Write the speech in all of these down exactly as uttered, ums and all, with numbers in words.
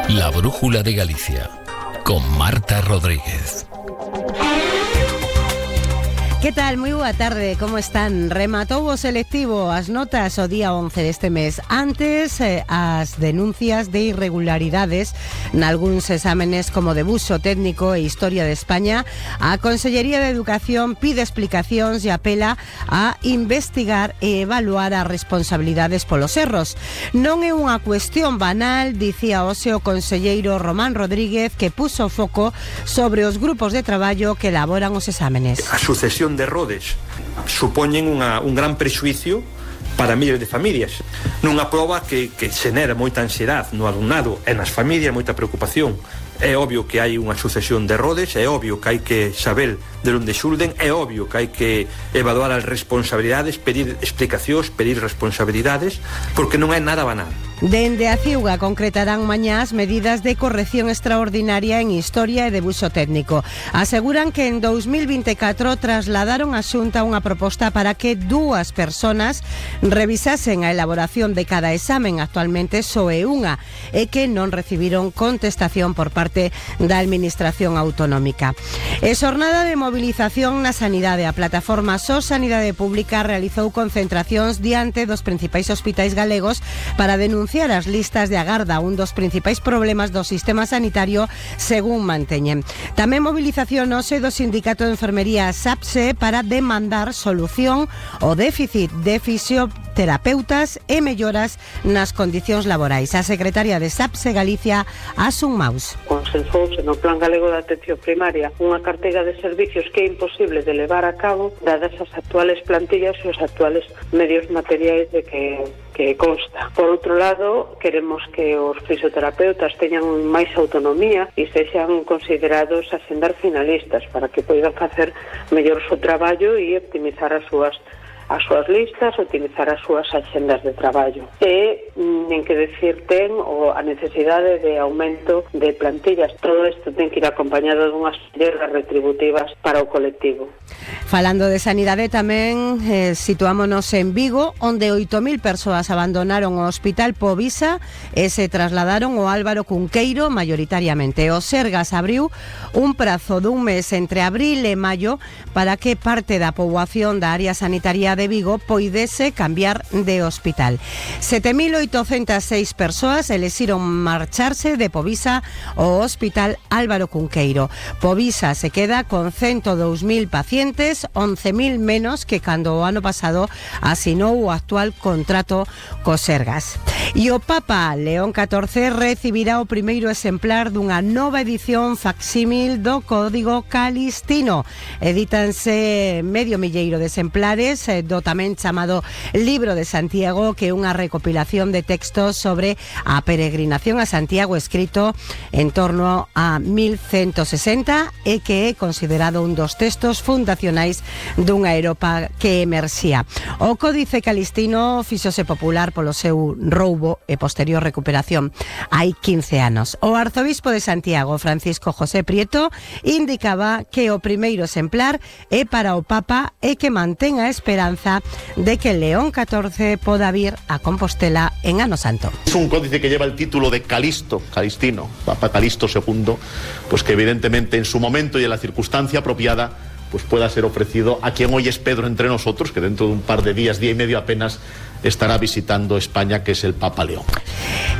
La Brújula de Galicia, con Marta Rodríguez. Que tal? Moi boa tarde, como están? Rematou o selectivo as notas o día once deste mes. Antes, eh, as denuncias de irregularidades nalgúns exámenes como de buso técnico e Historia de España, a Consellería de Educación pide explicacións e apela a investigar e evaluar as responsabilidades polos erros. Non é unha cuestión banal, dicía hoxe o conselleiro Román Rodríguez, que puso foco sobre os grupos de traballo que elaboran os exámenes. A sucesión de errores supoñen unha, un gran prexuicio para miles de familias. Nunha proba que, que xenera moita ansiedade no alumnado e nas familias, moita preocupación. É obvio que hai unha sucesión de errores, é obvio que hai que saber de onde xulden, é obvio que hai que evaluar as responsabilidades, pedir explicacións, pedir responsabilidades, porque non é nada banal. Dende a Ciuga concretarán mañá as medidas de corrección extraordinaria en Historia e de buso técnico. Aseguran que en dous mil vinte e catro trasladaron a Xunta unha proposta para que dúas personas revisasen a elaboración de cada examen, actualmente só é unha, e que non recibiron contestación por parte da Administración Autonómica. E xornada de movilización na sanidade. A plataforma S O S Sanidade Pública realizou concentracións diante dos principais hospitais galegos para denunciar as listas de agarda, un dos principais problemas do sistema sanitario, según manteñen. Tamén movilización hoxe do Sindicato de Enfermería SAPSE para demandar solución ao déficit de fisioterapeutas e melloras nas condicións laborais. A secretaria de SAPSE Galicia, Asun Maus. Consensouse no Plan Galego de Atención Primaria unha carteiga de servicios que é imposible de levar a cabo dadas as actuales plantillas e os actuales medios materiais de que que consta. Por outro lado, queremos que os fisioterapeutas teñan máis autonomía e sexan considerados axendar finalistas para que poidan facer mellor o seu traballo e optimizar as súas as súas listas, utilizar as súas axendas de traballo. E nen que decir ten o a necesidade de aumento de plantillas. Todo isto ten que ir acompañado dunhas melloras retributivas para o colectivo. Falando de sanidade tamén eh, situámonos en Vigo, onde oito mil persoas abandonaron o Hospital Povisa e se trasladaron ao Álvaro Cunqueiro maioritariamente. O Sergas abriu un prazo dun mes entre abril e maio para que parte da poboación da área sanitaria de Vigo poidese cambiar de hospital. sete mil oitocentas seis persoas elixiron marcharse de Povisa ao Hospital Álvaro Cunqueiro. Povisa se queda con ciento dous mil pacientes, once mil menos que cando o ano pasado asinou o actual contrato co Sergas. E o Papa León catorce recibirá o primeiro exemplar dunha nova edición facsímil do Código Calistino. Edítanse medio milleiro de exemplares do tamén chamado Libro de Santiago, que é unha recopilación de textos sobre a peregrinación a Santiago, escrito en torno a mil ciento sesenta e que é considerado un dos textos fundacionais dunha Europa que emerxía. O Códice Calistino fíxose popular polo seu roubo e posterior recuperación hai quince anos. O arzobispo de Santiago, Francisco José Prieto, indicaba que o primeiro exemplar é para o Papa e que mantén a esperanza de que León catorce poda vir a Compostela en Ano Santo. Es un códice que lleva el título de Calisto, Calistino, Papa Calisto segundo, pues que evidentemente en su momento y en la circunstancia apropiada pues pueda ser ofrecido a quien hoy es Pedro entre nosotros, que dentro de un par de días, día y medio apenas, estará visitando España, que es el Papa León.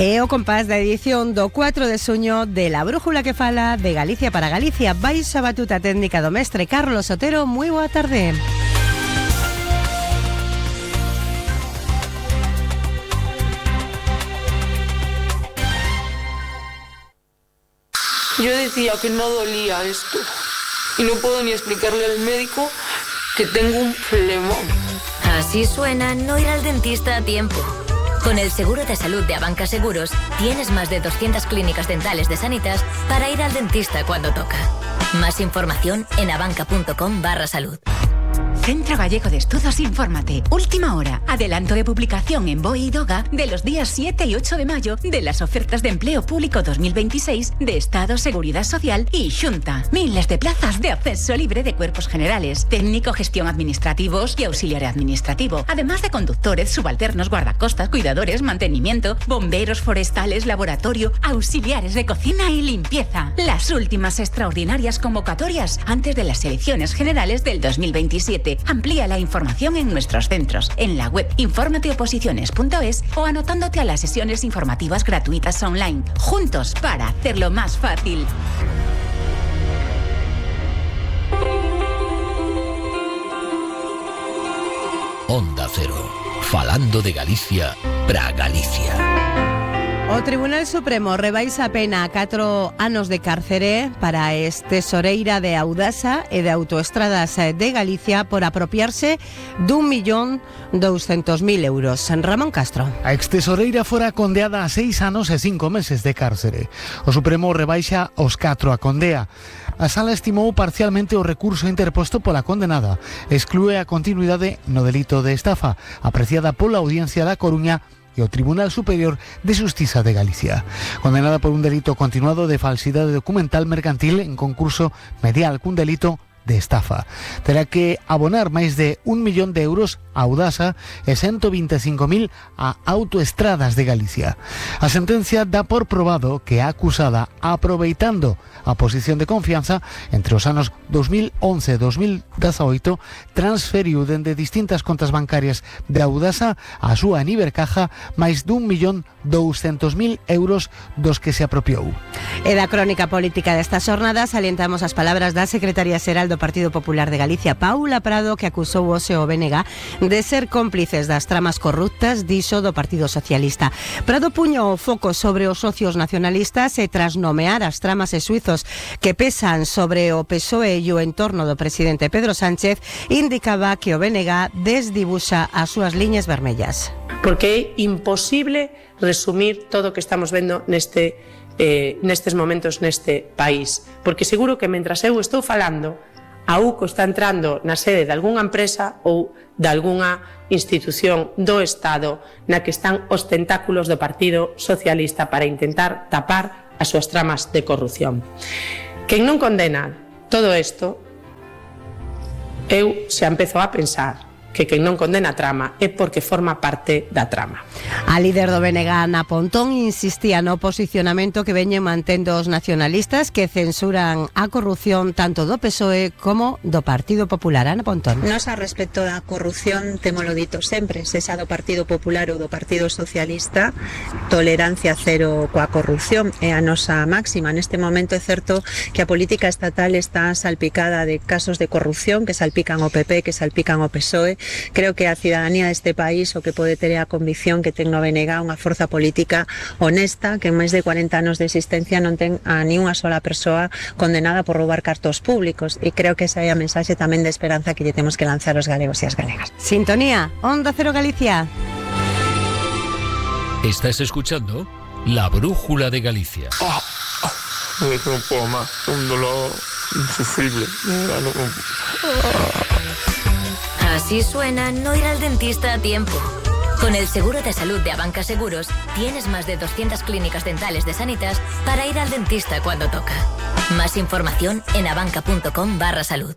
E o compás da edición do cuatro de xuño de La Brújula que fala de Galicia para Galicia. Baixo a batuta técnica do mestre Carlos Otero. Moi boa tarde. Yo decía que no dolía esto y no puedo ni explicarle al médico que tengo un flemón. Así suena no ir al dentista a tiempo. Con el seguro de salud de Abanca Seguros tienes más de doscientas clínicas dentales de Sanitas para ir al dentista cuando toca. Más información en abanca punto com barra salud. Centro Gallego de Estudos Infórmate. Última hora. Adelanto de publicación en B O E y DOGA de los días siete y ocho de mayo de las ofertas de empleo público dos mil veintiséis de Estado, Seguridad Social y Xunta. Miles de plazas de acceso libre de cuerpos generales, técnico, gestión administrativos y auxiliar administrativo. Además de conductores, subalternos, guardacostas, cuidadores, mantenimiento, bomberos forestales, laboratorio, auxiliares de cocina y limpieza. Las últimas extraordinarias convocatorias antes de las elecciones generales del dos mil veintisiete. Amplía la información en nuestros centros, en la web informateoposiciones punto es o anotándote a las sesiones informativas gratuitas online. Juntos para hacerlo más fácil. Onda Cero, falando de Galicia para Galicia. O Tribunal Supremo rebaixa a pena a catro anos de cárcere para a ex-tesoreira de Audasa e de Autoestradas de Galicia por apropiarse dun millón douscentos mil euros. Ramón Castro. A ex-tesoreira fora condeada a seis anos e cinco meses de cárcere. O Supremo rebaixa os catro a condea. A sala estimou parcialmente o recurso interposto pola condenada. Exclúe a continuidade no delito de estafa, apreciada pola Audiencia da Coruña e o Tribunal Superior de Xustiza de Galicia. Condenada por un delito continuado de falsidade documental mercantil en concurso medial cun delito de estafa. Terá que abonar máis de un millón de euros a Audasa e ciento veinticinco mil a Autoestradas de Galicia. A sentencia dá por probado que a acusada, aproveitando a posición de confianza entre os anos dos mil once e dos mil dezaoito, transferiu dende distintas contas bancarias de Audasa a súa Nivercaja máis dun millón douscentos mil euros dos que se apropiou. E da crónica política destas jornadas salientamos as palabras da secretaria xeral do Partido Popular de Galicia, Paula Prado, que acusou o S E O B N G de ser cómplices das tramas corruptas, dixo, do Partido Socialista. Prado puño o foco sobre os socios nacionalistas e tras nomear as tramas e suizos que pesan sobre o P S O E e o entorno do presidente Pedro Sánchez, indicaba que o B N G desdibuxa as súas liñas vermellas. Porque é imposible resumir todo o que estamos vendo neste, eh, nestes momentos neste país. Porque seguro que mentras eu estou falando, a U C O está entrando na sede de algunha empresa ou de algunha institución do Estado na que están os tentáculos do Partido Socialista para intentar tapar as súas tramas de corrupción. Quen non condena todo isto, eu xa empezo a pensar que quen non condena a trama é porque forma parte da trama. A líder do B N G, Ana Pontón, insistía no posicionamento que veñen mantendo os nacionalistas que censuran a corrupción tanto do P S O E como do Partido Popular. Ana Pontón. Nos a respecto da corrupción, temolo dito sempre, sexa do Partido Popular ou do Partido Socialista, tolerancia cero coa corrupción é a nosa máxima. Neste momento é certo que a política estatal está salpicada de casos de corrupción que salpican o P P, que salpican o P S O E. Creo que a cidadanía deste país o que pode ter a convicción que ten no B N G unha forza política honesta que en máis de cuarenta anos de existencia non ten a ni unha sola persoa condenada por roubar cartos públicos, e creo que esa é a mensaxe tamén de esperanza que lle temos que lanzar os galegos e as galegas. Sintonía, Onda Cero Galicia. Estás escuchando La Brújula de Galicia. Oh, oh, no puedo más, un dolor insufrible. No, no, no. Así suena no ir al dentista a tiempo. Con el seguro de salud de Abanca Seguros, tienes más de doscientas clínicas dentales de Sanitas para ir al dentista cuando toca. Más información en abanca.com barra salud.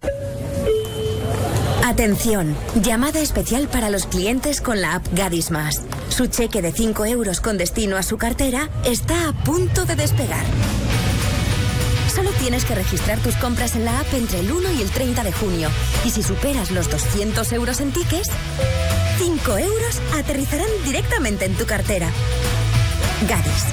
Atención, llamada especial para los clientes con la app Gadis Más. Su cheque de cinco euros con destino a su cartera está a punto de despegar. Solo tienes que registrar tus compras en la app entre el uno y el treinta de junio. Y si superas los doscientos euros en tickets, cinco euros aterrizarán directamente en tu cartera. Gadis.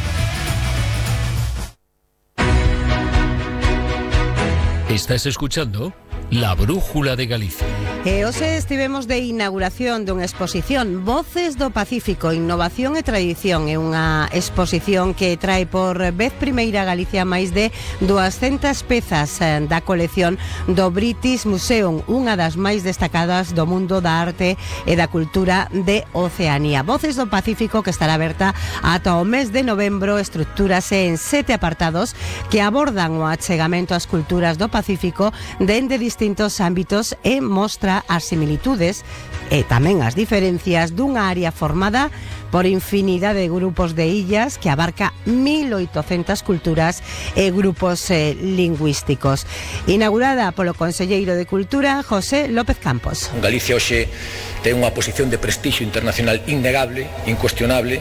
Estás escuchando La Brújula de Galicia. E hoxe estivemos de inauguración dunha exposición Voces do Pacífico, Innovación e Tradición. É unha exposición que trae por vez primeira a Galicia máis de duascentas pezas da colección do British Museum, unha das máis destacadas do mundo da arte e da cultura de Oceanía. Voces do Pacífico, que estará aberta ata o mes de novembro, estructúrase en sete apartados que abordan o achegamento ás culturas do Pacífico dende distintos ámbitos e mostra mostra as similitudes e tamén as diferencias dunha área formada por infinidade de grupos de illas que abarca mil oitocentas culturas e grupos eh, lingüísticos. Inaugurada polo Conselleiro de Cultura, José López Campos. Galicia hoxe ten unha posición de prestixio internacional innegable, incuestionable.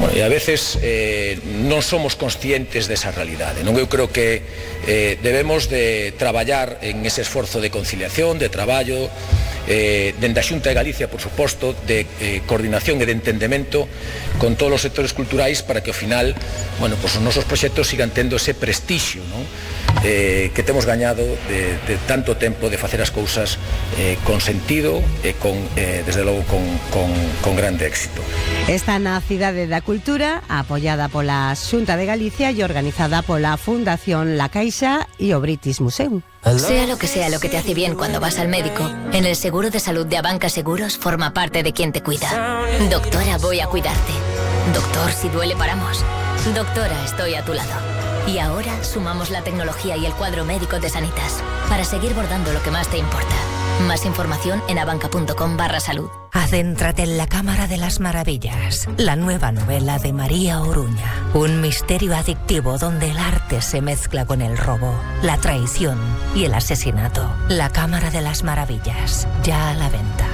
Bueno, e a veces eh, non somos conscientes desa realidade. Non, eu creo que eh, debemos de traballar en ese esforzo de conciliación, de traballo, eh, dende a Xunta de Galicia, por suposto, de eh, coordinación e de entendemento con todos os sectores culturais para que ao final, bueno, pues os nosos proxectos sigan tendo ese prestixio, non? Eh, que temos gañado de, de tanto tempo de facer as cousas eh, con sentido e con, eh, desde logo con, con, con grande éxito. Está na Cidade da Cultura, apoiada pola Xunta de Galicia e organizada pola Fundación La Caixa e o British Museum. Sea lo que sea lo que te hace bien cuando vas al médico, en el seguro de salud de Abanca Seguros forma parte de quien te cuida. Doctora, voy a cuidarte. Doctor, si duele paramos. Doctora, estoy a tu lado. Y ahora sumamos la tecnología y el cuadro médico de Sanitas para seguir bordando lo que más te importa. Más información en abanca.com barra salud. Adéntrate en la Cámara de las Maravillas, la nueva novela de María Oruña. Un misterio adictivo donde el arte se mezcla con el robo, la traición y el asesinato. La Cámara de las Maravillas, ya a la venta.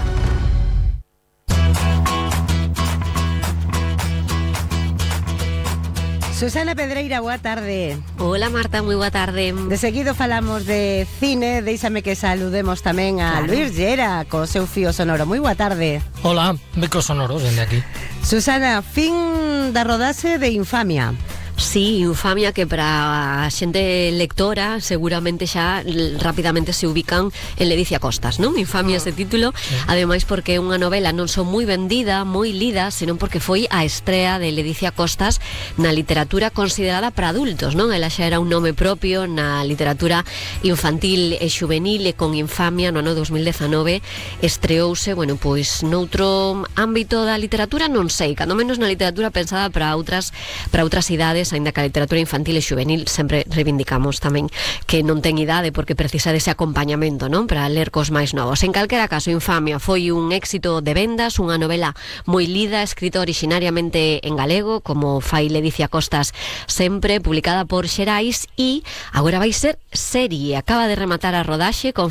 Susana Pedreira, boa tarde. Hola Marta, moi boa tarde. De seguido falamos de cine, déixame que saludemos tamén a claro. Luis Llera, co seu fío sonoro. Moi boa tarde. Hola, becos sonoros, dende aquí. Susana, fin da rodaxe de Infamia. Sí, Infamia, que para a xente lectora seguramente xa rapidamente se ubican en Ledicia Costas, non? Infamia ese título, sí. Ademais porque é unha novela non só moi vendida, moi lida, senón porque foi a estrea de Ledicia Costas na literatura considerada para adultos, non? Ela xa era un nome propio na literatura infantil e xuvenil, e con Infamia no ano dos mil dezanove estreouse, bueno, pois noutro ámbito da literatura, non sei, cando menos na literatura pensada para outras para outras idades, aínda que a literatura infantil e xuvenil sempre reivindicamos tamén que non ten idade porque precisa dese acompañamento, non? Para ler cos máis novos. En calquera caso, Infamia foi un éxito de vendas, unha novela moi lida, escrita originariamente en galego, como fai Ledicia Costas sempre, publicada por Xerais, e agora vai ser serie. Acaba de rematar a rodaxe con